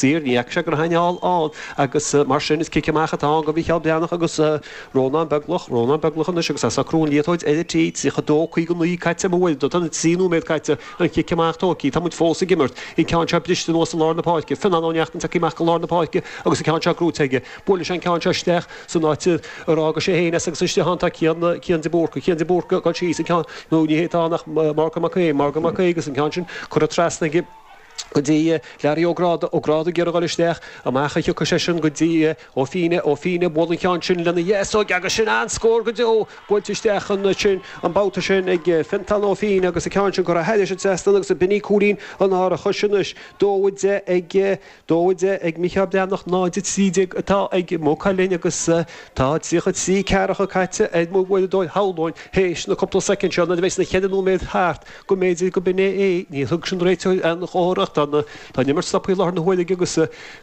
saor, ní fhaca sé go raibh éinne thall ann agus mar sin is cic amach atá ann do Mhícheál Breathnach agus Rónán Beglach, Rónán Beglach anois agus é ag socrú an liathróid ar an tee, 32, 59 caite amuigh uair, tá na 3 nóiméad caite, an cic amach tógtha, tá muid fós ag imirt, an ceann seo briste anuas i lár na páirce, Fionán Ó Neachtain tagtha amach go lár na páirce agus an ceann seo gnóite aige, buaileann sé an ceann seo isteach san áit ar fhága sé féin as agus istigh ann tá Cian, Cian de Búrca, Cian de Búrca ag dul síos an ceann, nó ní hé atá ann ach Morgan Mac Aodha, Morgan Mac Aodha agus an ceann sin curtha trasna aige go dtí Larry Ó Gráda, Ó Gráda ag iarraidh a dhul isteach, amach a thiocfaidh seisean go dtí Ó Fíne, Ó Fíne, buail an ceann sin lena dheasóig agus sin an-scór go deo, buailte isteach ansin an babhta sin ag Fiontán Ó Fíne agus an ceann sin curtha thairis an trasnán agus b'in í cúilín an árachais anois. 2, 10 ag 2, 10 ag Mícheál Breathnach, 0, 13 atá ag Maigh Cuilinn agus tá 33 ceathracha caite ar mo uaireadóir shamhlóinn théis na cúpla soicind seo nuair a bheidh na cheithre nóiméad thart go mb'fhéidir go b'in é é. Níor thug sin réiteoir aon chomhartha ach tá an imirt stoptha i láthair na huaire aige agus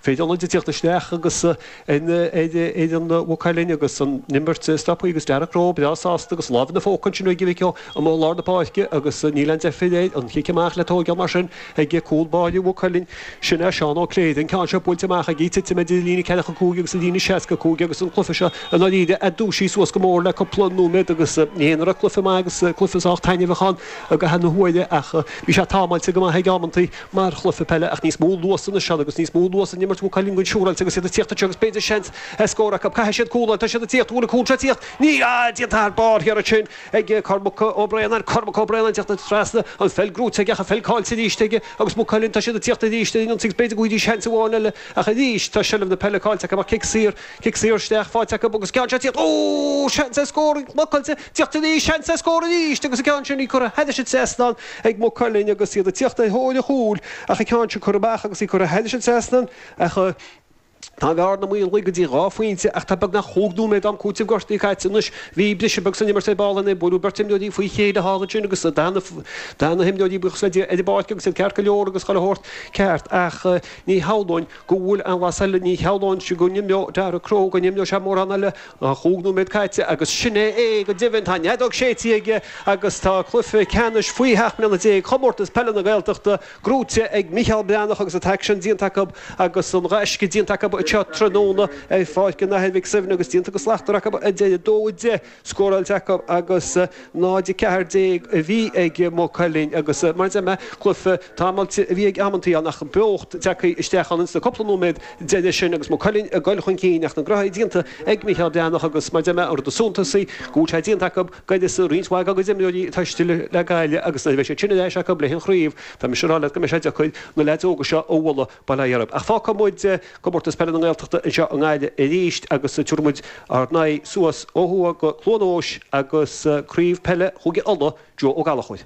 fir ionaid ag tíocht isteach agus ar fhoireann Mhaigh Cuilinn agus an imirt stoptha agus Darragh Crowe breá sásta agus lámh ina phóca ansin ag Mhic Ó amuigh i lár na páirce agus níl aon deifir air an chic amach le tóigeáil mar sin ag cúl báire Mhaigh Cuilinn. Sin é Seán Ó Cléirigh, an ceann seo buailte amach aige, titim idir an líne 45 agus an líne 65 agus an cluiche seo i ndáiríre ag dúisí suas go mór le cúpla nóiméad agus ní hé nach raibh cluiche maith agus cluiche sách taitneamhach ann i gcaitheamh na huaire ach bhí sé támáilte go maith ag amantaí mar chluiche peile ach níos mó luas anois ann agus níos mó luas in imirt Mhaigh Cuilinn go siúráilte agus iad ag tíocht anseo agus b'fhéidir seans ar scór acu. Caithfidh siad cúl a fháil, tá siad ag tíocht, bhfuil an cúl seo ag tíocht? Níl! Ah, déanta thar barr thiar ansin ag Cormac Ó Braonáin, Cormac Ó Braonáin ag tíocht trasna, an pheil gnóite aige ach an pheil caillte arís aige agus Maigh Cuilinn, tá siad ag tíocht arís ar an ionsaí agus b'fhéidir go bhfaighidís seans amháin eile ach arís tá seilbh na peile caillte acu ach cic saor, cic saor isteach faighte acu agus ceann seo ag tíocht, ó, seans ar scór blocáilte, tíocht arís, seans ar scór arís agus an ceann sin í curtha thairis an trasnán ag Maigh Cuilinn agus iad ag tíocht ar thóir an chúil ach an ceann sin curtha amach agus í curtha thairis an trasnán ach Tá an bhearna maolaithe go dtí 2 phointe ach tá beagnach chúig nóiméad d'am cúitimh gortaithe caite anois. Bhí briseadh beag san imirt ar ball ann, buaileadh beirt imreoirí faoi chéile thall ansin agus d'fhan na himreoirí, buíochas le Dia, ar an bpáirc agus iad ceart go leor agus chuile shórt ceart ach ní shamhlóinn go bhfuil aon bhlas eile, ní shamhlóinn go n-imreodh Darragh Crowe, go n-imreodh sé mórán eile. Tá chúig nóiméad caite agus sin é é go deimhin. Tá an fheadóg séidte aige agus tá cluiche ceannais faoi sheacht mbliana déag Chomórtas Peile na Gaeltachta gnóite ag Mícheál Breathnach agus an t-aicsean déanta acu agus an ghaisce déanta acu anseo tráthnóna ar Pháirc an Athar Mhic Suibhne agus déanta go slachtmhar acu ar deireadh. 2-10 scóráilte acu agus 0-14 a bhí ag Maigh Cuilinn agus mar a deir mé, cluiche támáilte a bhí ag amantaí ann ach beocht tagtha isteach ann ins na cúpla nóiméad deiridh sin agus Maigh Cuilinn ag goil chun cinn ach na gnoithí déanta ag Mícheál Breathnach agus mar a deir mé, an rud is suntasaí go bhfuil sé déanta acu D'uireasa roinnt mhaith dá gcuid imreoirí atá istigh le Gaillimh agus nuair a bheidh siad sin ar ais acu le haghaidh an chraobh, tá mise ag rá leat go mbeidh sé deacair na leaids óga seo a bhualadh, bail ó Dhia orthu. Ach fágfaidh muid Comórtas Peile na nGaeltachta anseo i nGaillimh arís agus tabharfaidh muid ár n-aghaidh suas ó thuaidh go Cluain Eois agus Craobh Peile Chúige Uladh, Joe Ó Gallchóir.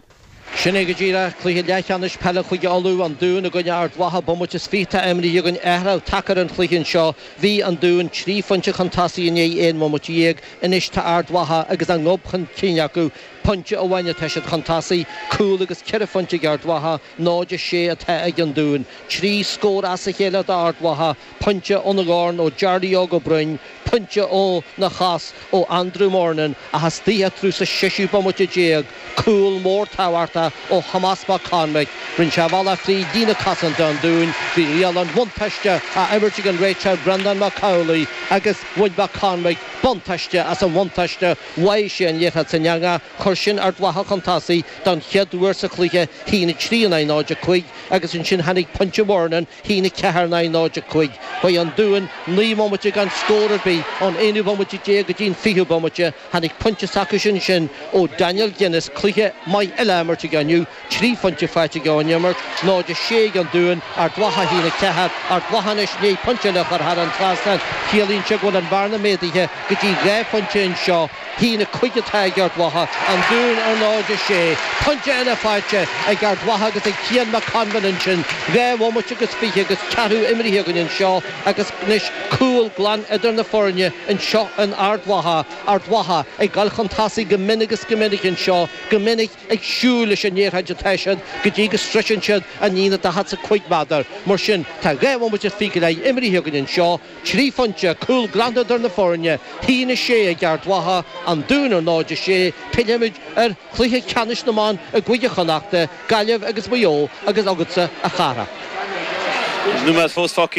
Sin é go díreach, cluiche leathcheannais peile Chúige Uladh, an Dún i gcoinne Ard Mhacha, bomaite is fiche atá imrithe againn, athrú tagtha ar an chluiche anseo. Bhí an Dún 3 phointe chun tosaigh i ndiaidh 11 mbomaite, anois tá Ard Mhacha agus a ngob chun cinn acu, pointe amháin atá siad chun tosaigh, cúl agus ceithre phointe ag Ard Mhacha, 0-6 atá ag an Dún. 3 scór as a chéile d'Ard Mhacha, pointe óna dhorn ó Charlie Óg Ó Broin, pointe óna chos ó Andrew Murnin ach istoíche atrú sa seisiú bomaite déag, Cúl mór tábhachtach ó Thomás Mac Conmaic. Rinne sé a bhealach fríd líne cosanta an Dúin. Bhí riail an bhuntáiste á imirt ag an réiteoir Breandán Mac Amhlaigh agus bhain Mac Conmaic buntáiste as an bhuntáiste. Bháigh sé an liathróid san eangach. Chuir sin Ard Mhacha chun tosaigh don chéad uair sa chluiche, 1-3 in aghaidh 0-5, agus ansin tháinig pointe Murnin, 1-4 in aghaidh 0-5. Chuaigh an Dún 9 mbomaite gan scór ar bith ón aonú bomaite déag go dtí an fichiú bomaite. Tháinig pointe s'acusan ansin ó Daniel Guinness, cluiche maith eile á imirt aige inniu, 3 phointe faighte aige ón imirt, 0-6 ag an Dún, Ard Mhacha 1-4, Ard Mhacha anois i ndiaidh pointe eile a chur thar an trasnán, ciallaíonn sé go bhfuil an bhearna méadaithe go dtí 2 phointe anseo, 1-5 atá ag Ard Mhacha, an Dún ar 0-6, pointe eile faighte ag Ard Mhacha agus ag Cian McConville ansin, 2 bhomaite agus fiche agus ceathrú imrithe againn anseo agus anois cúl glan idir na foirne anseo in Ard Mhacha. Ard Mhacha ag dul chun tosaigh go mion agus go minic anseo, go minic ag siúl leis an liathróid atá siad go dtí go sroiseann siad an líne 45 méadar. Mar sin, tá 2 bhomaite is fiche go leith imrithe againn anseo, 3 phointe, cúl glan idir na foirne, 1-6 ag Ard Mhacha, An Dún ar 0-6. Pillfimid ar chluiche ceannais na mban i gCúige Chonnachta, Gaillimh agus Maigh Eo agus agatsa, a chara. Nóiméad fós fágtha.